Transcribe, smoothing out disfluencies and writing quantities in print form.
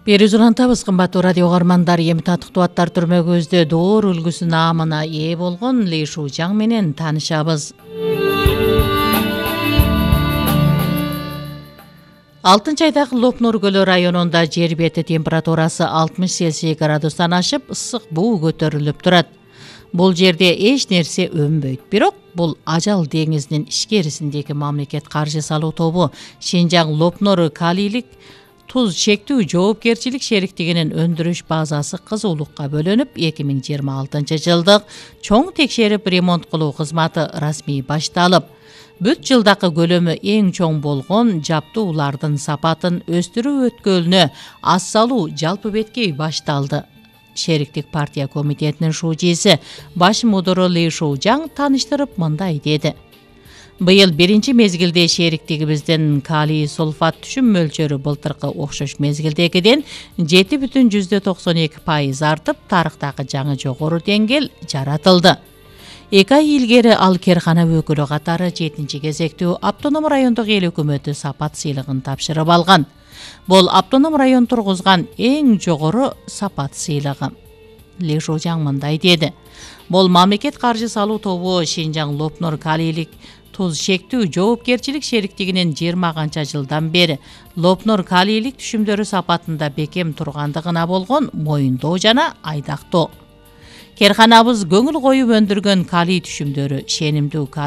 Бери улантабыз, кымбаттуу радио угармандар. Эми татыктуу аттар түрмөгүбүздө доор үлгүсү наамына ээ болгон Ли Шужаң менен таанышабыз. 6-айдагы Лопнур көлү районунда жер бети температурасы 60 Цельсий градустан ашып, ысык буу көтөрүлүп турат. Бул жерде эч нерсе өнбөйт. Бирок бул ажал деңизинин ичкерисиндеги мамлекет каржы салуу тобу Шинжаң Лопнур калийлик туз чектүү жоопкерчилик шериктигинин өндүрүш базасы кызуулукка бөлөнүп, 2026-жылдык чоң текшерип ремонт кылуу кызматы расмий башталып, бүт жылдакы көлөмү эң чоң болгон жаптуулардын сапатын өстүрүү өткөлүнө ас салуу жалпы беткей башталды. Шериктик партия комитетинин шужиси баш мудуру Ли Шужаң таныштырып мындай деди. Быйыл биринчи мезгилде шериктигибиздин калий сулфат түшүм мөлчөрү былтыркы окшош мезгилдегиден 7,92% артып, тарыхтагы жаңы жогору деңгэл жаратылды. 2 ай илгери ал керкана өкүлү катары 7-кезектүү автоном райондук эл өкмөтү сапат сыйлыгын тапшырып алган. Бул автоном район тургузган эң жогору сапат сыйлыгы. Ли Шужаң мындай деди. Бул мамлекет каржы салуу тобу Шинжаң Лопнур калийлик туз чектүү жоопкерчилик шериктигинин 20 канча жылдан бери Лопнур калийлик түшүмдөрү сапатында бекем тургандыгына болгон моюндоо жана айдактоо. Керканабыз көңүл коюп өндүргөн калий түшүмдөрү шенимдүү